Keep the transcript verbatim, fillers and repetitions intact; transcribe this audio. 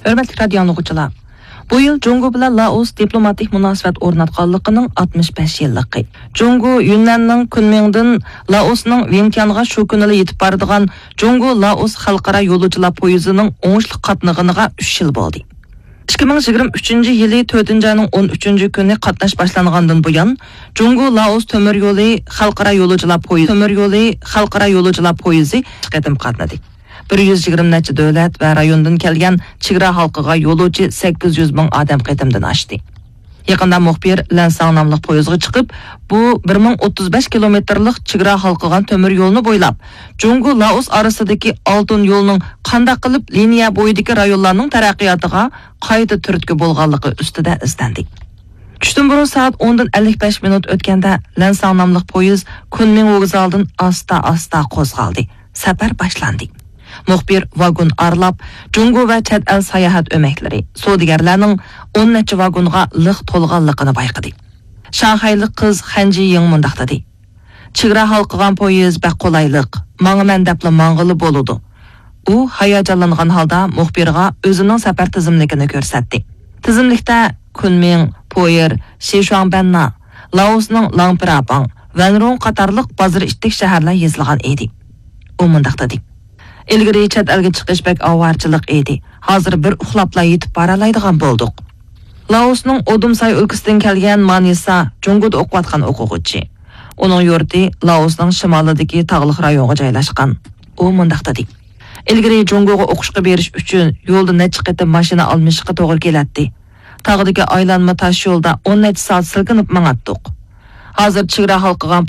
ھۆرمەتلىك رادىيو ئاڭلىغۇچىلار، بۇ يىل جۇڭگو بىلەن لائوس دىپلوماتىك مۇناسىۋەت ئورناتقانلىقىنىڭ ئاتمىش بەش يىللىقى. جۇڭگو يۈننەننىڭ كۈنمىڭدىن لائوسنىڭ ۋىنتيانغا شۇ كۈنىلا يېتىپ بارىدىغان جۇڭگو لائوس خەلقئارا يولۇچىلار پويىزىنىڭ ئوڭۇشلۇق قاتنىغىنىغا ئۈچ يىل بولدى. ئىككى مىڭ يىگىرمە ئۈچىنچى يىلى تۆتىنچى ئاينىڭ ئون ئۈچىنچى كۈنى قاتناش باشلانغاندىن بۇيان، جۇڭگو لائوس تۆمۈر يولى خەلقئارا يولۇچىلار پويىزى، تۆمۈر يولى خەلقئارا يولۇچىلار پويىزى قېتىم قاتنىدى. بىر يۈز يىگىرمە نەچچە دۆلەت ۋە رايوندىن كەلگەن چېگرا ھالقىغا يولۇچى سەككىز يۈز مىڭ ئادەم قېتىمدىن ئاشتى. يېقىندا مۇخبىر لەنساڭ ناملىق پويىزغا چىقىپ، بۇ بىر مىڭ ئوتتۇز بەش كىلومېتىرلىق چېگرا ھالقىغان تۆمۈر يولنى بويلاپ، جۇڭگو لائوس ئارىسىدىكى ئالتۇن يولنىڭ قانداق قىلىپ لىنىيە بويىدىكى رايونلارنىڭ تەرەققىياتىغا قايتا تۈرتكە بولغانلىقى ئۈستىدە ئىزدەندى. چۈشتىن بۇرۇن سائەت ئوندىن ئەللىك بەش مىنۇت ئۆتكەندە، لەنساڭ ناملىق پويىز كۈنمىڭ ۋوگزالىدىن ئاستا-ئاستا قوزغالدى. سەپەر باشلاندى. مۇخبىر ۋاگون ئارىلاپ، جۇڭگو ۋە چەت ئەل ساياھەت ئۆمەكلىرى، سودىگەرلەرنىڭ ئون نەچچە ۋاگونغا لىق تولغانلىقىنى بايقىدى. شاڭخەيلىق قىز خەن جىيىڭ مۇنداق دېدى: «چېگرا ھالقىغان پويىز بەك قولايلىق، ماڭىمەن دەپلا ماڭغىلى بولىدۇ.» ئۇ ھاياجانلانغان ھالدا مۇخبىرغا ئۆزىنىڭ سەپەر تىزىملىكىنى كۆرسەتتى. تىزىملىكتە كۈنمىڭ، پويېر، شىشۇاڭبەننا، لائوسنىڭ لاڭپىراباڭ، ۋەنرۇڭ قاتارلىق بازىرى ئىتتىك شەھەرلەر يېزىلغان ئىدى. ئۇ مۇنداق دېدى: «ئىلگىرى چەت ئەلگە چىقىش بەك ئاۋارىچىلىق ئىدى. ھازىر بىر ئۇخلاپلا يېتىپ بارالايدىغان بولدۇق.» لائوسنىڭ ئودۇمساي ئۆلكىسىدىن كەلگەن مانىسا جۇڭگودا ئوقۇۋاتقان ئوقۇغۇچى. ئۇنىڭ يۇرتى لائوسنىڭ شىمالىدىكى تاغلىق رايونغا جايلاشقان. ئۇ مۇنداق دېدى: «ئىلگىرى جۇڭگوغا ئوقۇشقا بېرىش ئۈچۈن يولدا نەچچە قېتىم ماشىنا ئالمىشىشقا توغرا كېلەتتى. تاغدىكى ئايلانما تاش يولدا ئون نەچچە سائەت سىلكىنىپ ماڭاتتۇق. ھازىر چېگرا ھالقىغان